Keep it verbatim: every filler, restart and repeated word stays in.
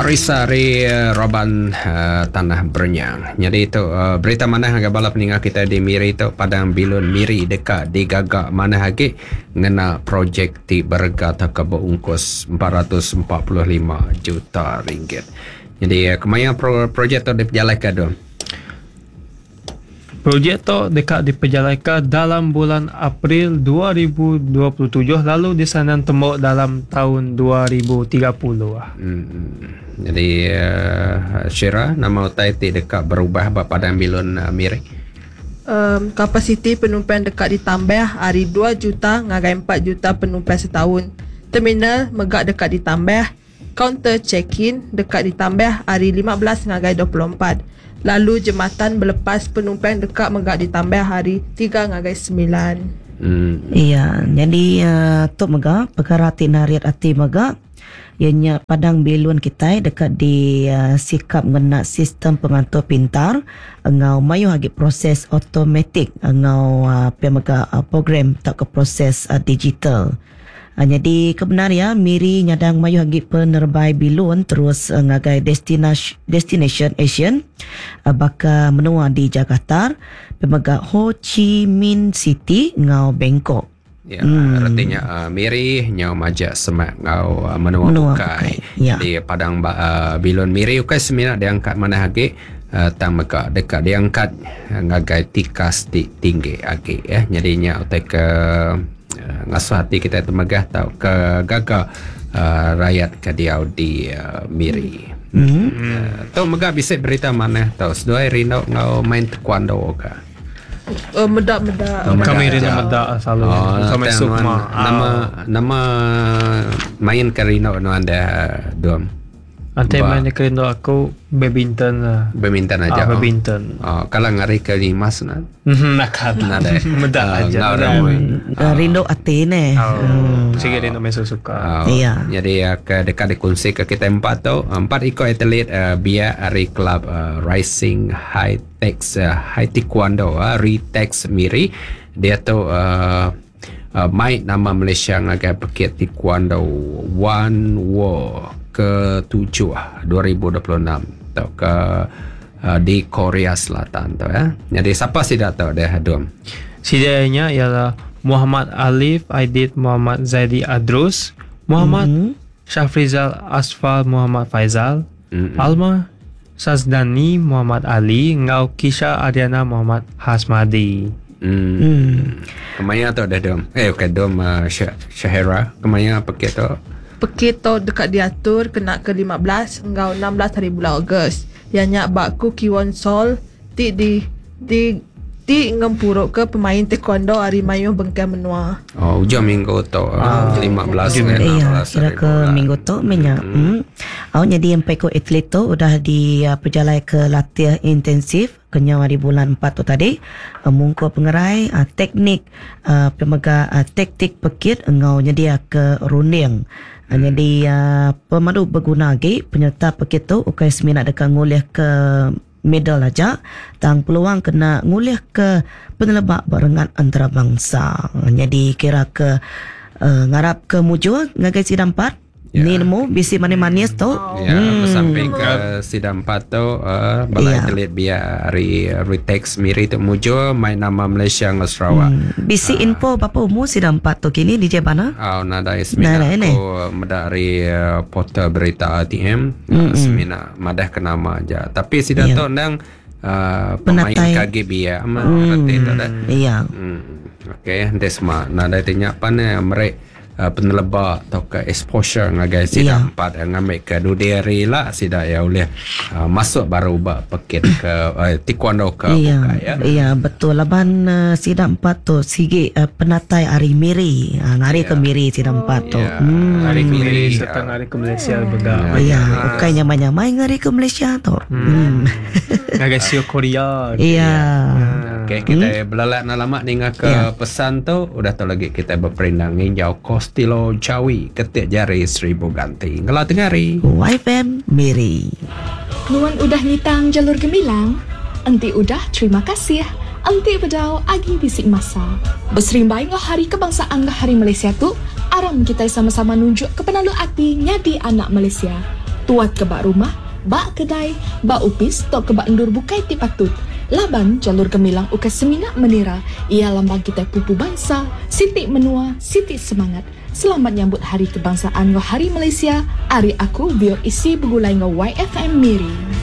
Arisa ari Roban uh, Tanah Berenyang. Jadi tu uh, berita manah ngagai bala peninga kita di Miri tu, Padang Bilun Miri deka digaga manah agi ngena projek ti berega tauka berungkus empat ratus empat puluh lima juta ringgit. Jadi uh, kemaya pro- projek tu dipejalaikan tu? Projek tu dekat diperjalankan dalam bulan April dua ribu dua puluh tujuh lalu di sana tembok dalam tahun dua ribu tiga puluh. Hmm. Jadi uh, Syira, nama utai ti dekat berubah ba Padang Bilun uh, Miri? Um, kapasiti penumpang dekat ditambah hari dua juta ngagai empat juta penumpang setahun. Terminal megak dekat ditambah, kaunter check-in dekat ditambah hari lima belas ngagai dua puluh empat. Lalu jembatan berlepas penumpang dekat megak ditambah hari tiga ngagai sembilan. Hmm. Iya, jadi uh, tu megak perkara ti nariat ati megak ianya Padang Bilun kita dekat di uh, sikap ngena sistem pengatur pintar ngau mayu agi proses automatik ngau uh, pemega uh, program tak ke proses uh, digital. Uh, jadi kebenar ya Miri nyadang mayu agi penerbai bilun terus uh, ngagai destination destination Asian uh, baka menua di Jakarta, pemega Ho Chi Minh City ngau Bangkok. Ya, hmm. Artinya uh, Miri nyau majak semak ngau uh, menua, menua bukai. Ya. Di Padang uh, Bilun Miri ukai semina diangkat mana agi uh, tang mega dekat diangkat uh, ngagai tikas ti tinggi agi ya. Jadinya utai ke uh, ngasuh hati kita temegah tau ke gaga uh, rakyat ke diau di uh, Miri. Hmm. Uh, tu mega bisa berita mana tau seduai rindu ngau main taekwondo ke? Uh, medak-medak. Oh, Kami rindu medak selalu. Oh, Kami sukma. Nama nama main ke rindu nu anda dom. Ante main ke rindu aku badminton lah. Badminton aja. Ah, badminton. Oh, kalau ngari ke limas na. Nakal. Nadai. Medak aja. Rindu ati ne. Sige rindu mesu suka. Iya. Jadi ke dekat dikongsi ke kita empat tu, empat ikut atlet uh, biar ari club uh, Rising High Tex uh, High Taekwondo uh, Ritex Miri. Dia tu uh, uh, main nama Malaysia ngagai pekit Taekwondo One World ke tujuh dua ribu dua puluh enam atau ke uh, di Korea Selatan tu ya. Jadi siapa sih dah tahu dia hadum? Sidanya ialah Muhammad Alif Aidit Muhammad Zaidi Adrus, Muhammad mm-hmm. Syafrizal Asfal Muhammad Faizal, mm-hmm. Alma Sazdani Muhammad Ali, ngau Kisha Ariana Muhammad Hasmadi. Hmm. hmm. Kemaya tu dah dom. Eh okey dom uh, Syahira kemaya pakai tu. Pekit tu dekat diatur kena ke lima belas ngau enam belas hari bulan Ogos. Yang nyak bakku Kiwon Sol ti di di ti ngempuruk ke pemain taekwondo hari mayu bengkai menua. Oh, hujung minggu tu ah, lima belas enam belas. Iya, kira ke minggu tu menya. Hmm. Hmm. Jadi yang peko atlet tu udah di uh, perjalai ke latih intensif kenyau hari bulan empat tu tadi uh, mungko pengerai uh, teknik uh, pemega uh, taktik pekit ngau nyedia ke runding. Hmm. Jadi uh, pemandu berguna lagi penyerta pekit tu ukai semina dekat ngulih ke medal aja tang peluang kena ngulih ke penelebak barengan antarabangsa. Jadi kira ke uh, ngarap ke mujur ngagai sidang empat. Ya. Ni nemu bisi manis-manis tu. Ya, hmm. Sampai ke sidang empat tu uh, balai ya. Atlet biar hari Ritex Miri tu mujur main nama Malaysia dengan Sarawak. Hmm. Bisi uh, info berapa umur sidang empat tu kini D J Bana? Oh, nadai semina aku medari uh, portal berita A T M mm-hmm. uh, semina madah ke nama aja. Tapi sidang ya. Tu ndang uh, pemain K G B ya. Ama hmm. reti tu dah. Iya. Hmm. Okey, nanti semua nadai tanya pan mereka Uh, peneleba atau ke exposure ngagai sida yeah. Empat yang ngambil ke dudiri lah sida ya oleh uh, masuk baru ba pekit ke uh, taekwondo ke iya, bukai ya. Iya betul laban uh, sida empat tu sigi uh, penatai hari Miri uh, ngari yeah. ke Miri sida empat tu. Yeah. Hmm. Hari ke Miri serta ngari ke Malaysia bega. Iya, bukan nyamai-nyamai ngari ke Malaysia tu. Hmm. Ngagai Sio Korea. Iya. Okey, kita hmm? belalak nak lama ni ke yeah. pesan tu udah tu lagi kita berperindang nginjau Kostilo Jawi ketik jari seribu ganti. Ngelah tengah hari. Y F M Miri. Nuan udah ngitang jalur gemilang. Enti udah terima kasih. Enti bedau agi bisik masa. Berserimbai ngah hari kebangsaan ngah hari Malaysia tu, aram kita sama-sama nunjuk ke penalu ati nyadi anak Malaysia. Tuat ke bak rumah, bak kedai, bak upis atau ke bak endur bukai ti patut. Laban jalur gemilang ukai semina menira, ia lambang kita pupu bangsa, siti menua, siti semangat. Selamat nyambut Hari Kebangsaan ngau Hari Malaysia. Ari aku Bio Isi Begulai ngau Y F M Miri.